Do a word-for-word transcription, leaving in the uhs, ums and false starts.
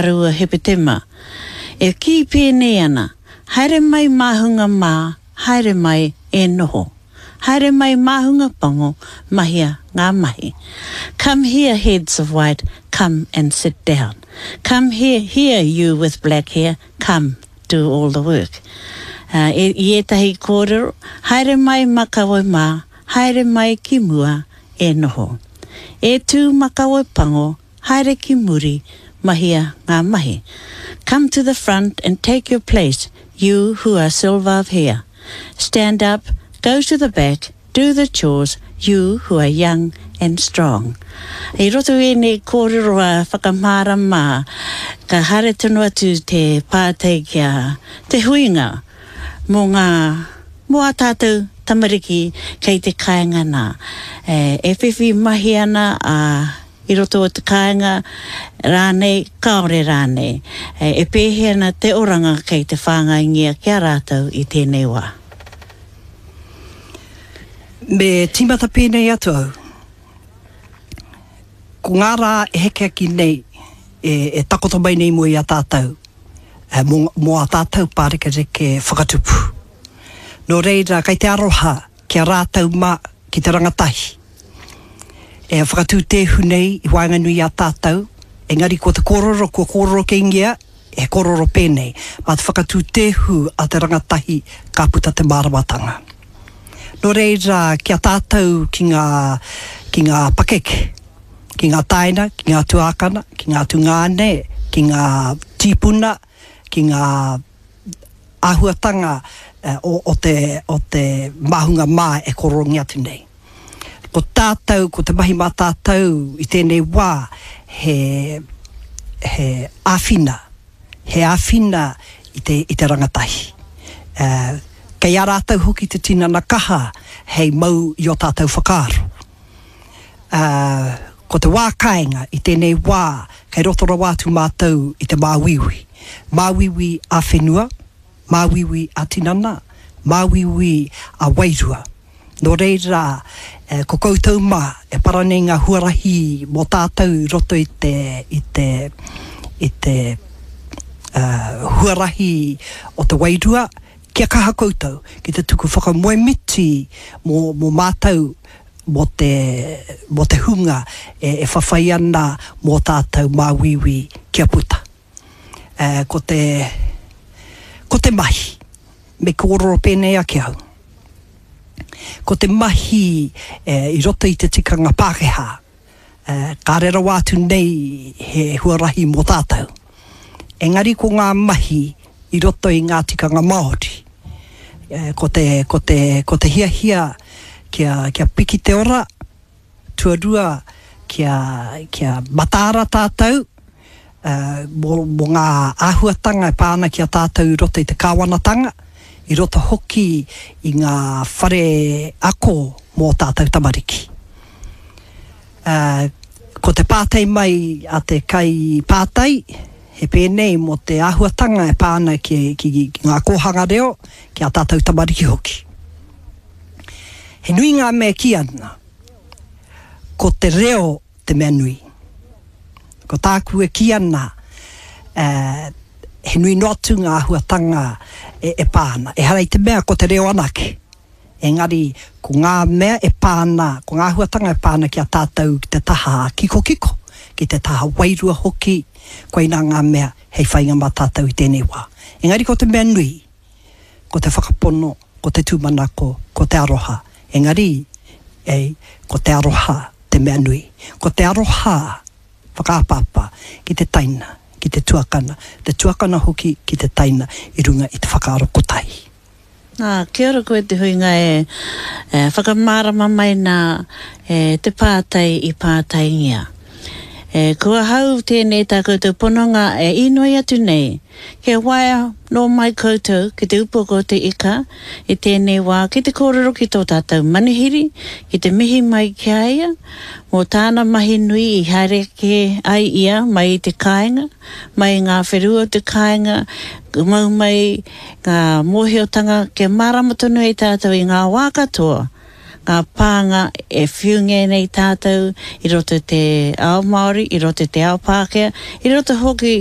rua Hepetema, e kī pēnei ana, Haere mai māhunga mā, haere mai e noho. Haere mai māhunga pango, mahia ngā mahi. Come here, heads of white, come and sit down. Come here, here you with black hair, come do all the work. Uh, e, i ētahi kōrero, haere mai makawe mā, haere mai ki mua e noho. E tū makawe pango, haere ki muri, mahia ngā mahi. Come to the front and take your place, you who are silver of hair. Stand up, go to the back, do the chores, you who are young and strong. I roto i ēnei kōrero a whakamārama, ka haere tonu atu te pātai ki a te huinga mō ngā, mō ā tātou tamariki kei te kāinga nā. E, e whiwhi mahi ana a, i roto o te kāinga rānei, kāore rānei. E, e pēhea ana te oranga kei te whāngaingia ki a rātou i tēnei wā? Me tīmata pēnei atu au. Ko ngā rā e heke ake nei, e, e takoto mai nei mua i a tātou, e, mō, mō ā tātou pārekereke whakatupu. Nō reira, kei te aroha ki a rātou mā, ki te rangatahi. E whakatū tēhu nei i waenganui i a tātou, engari ko te kōrero kua kōrero kēngia, he kōrero pēnei, mā te whakatū tēhu a te rangatahi ka puta te māramatanga. Nō reira, ki a tātou ki ngā, ki ngā pakeke, ki ngā tāina, ki ngā tuākana, ki ngā tungāne, ki ngā tīpuna, ki ngā āhuatanga o, o te, o te māhunga mā e kōrerongia atu nei. Ko tātou, ko te mahi mā tātou i tēnei wā, he, he āwhina, he āwhina i te, i te rangatahi. Uh, kei a rātou hoki te tinana kaha hei mau i o tātou whakaaro. Uh, ko te wā kāinga i tēnei wā kei roto rawa atu mātou i te māuiui. Māuiui a whenua, māuiui a tinana, māuiui a wairua. Nō reira, eh, ko koutou mā, e para nei ngā huarahi mō tātou i roto i te, i te, i te uh, huarahi o te wairua, kia kaha koutou ki te tuku whakamoemiti mō, mō mātou, mō te, mō te hunga e, e whawhai ana mō tātou māuiui kia puta. Eh, ko te, ko te mahi, me kōrero pēnei ake au. Ko te mahi e, i roto i te tikanga Pākehā, e, kāre rawa atu nei he huarahi mō tātou. Engari ko ngā mahi i roto i ngā tikanga Māori. E, ko te, ko te, ko te hiahia kia, kia piki te ora, tuarua kia, kia mataara tātou, uh, mō, mō ngā āhuatanga e pā ana ki a tātou i roto i te kāwanatanga, i roto hoki i ngā whare ako mō tātou tamariki. Uh, ko te pātai mai a te kai pātai, he pēnei mō te āhuatanga e pā ana ki, ki, ki ngā kōhanga reo, ki a tātou tamariki hoki. He nui ngā mea kī ana, ko te reo te mea nui. Ko tāku e kī ana, uh, he nui noa atu ngā āhuatanga e, e pā ana. Ehara i te mea ko te reo anake. Engari, ko ngā mea e pā ana, ko ngā āhuatanga e pā ana ki a tātou ki te taha kikokiko, ki te taha wairua hoki, koinā ngā mea hei whainga mā tātou i tēnei wā. Engari ko te mea nui, ko te whakapono, ko te tūmanako, ko te aroha. Engari, e, ko te aroha te mea nui. Ko te aroha whakapāpā ki te taina, ki te tuakana, te tuakana hoki ki te taina i runga i te whakaaro kotahi. Nā, kia ora koe te huinga e, e whakamārama mai nā e, te pātai i pātaingia. E, ko ahau tēnei tā koutou pononga e inoi atu nei, kia waea nō mai koutou ki te upoko o te ika i tēnei wā ki te kōrero ki tō tātou manuhiri, ki te mihi mai ki a ia, mō tāna mahi nui i haere kē ai ia mai i te kāinga, mai i ngā whenua o te kāinga, mau mai ngā mōhiotanga kia mārama tonu ai tātou i ngā wā katoa, ngā pānga e whiungia nei tātou i roto i te ao Māori, i roto i te ao Pākehā, i roto hoki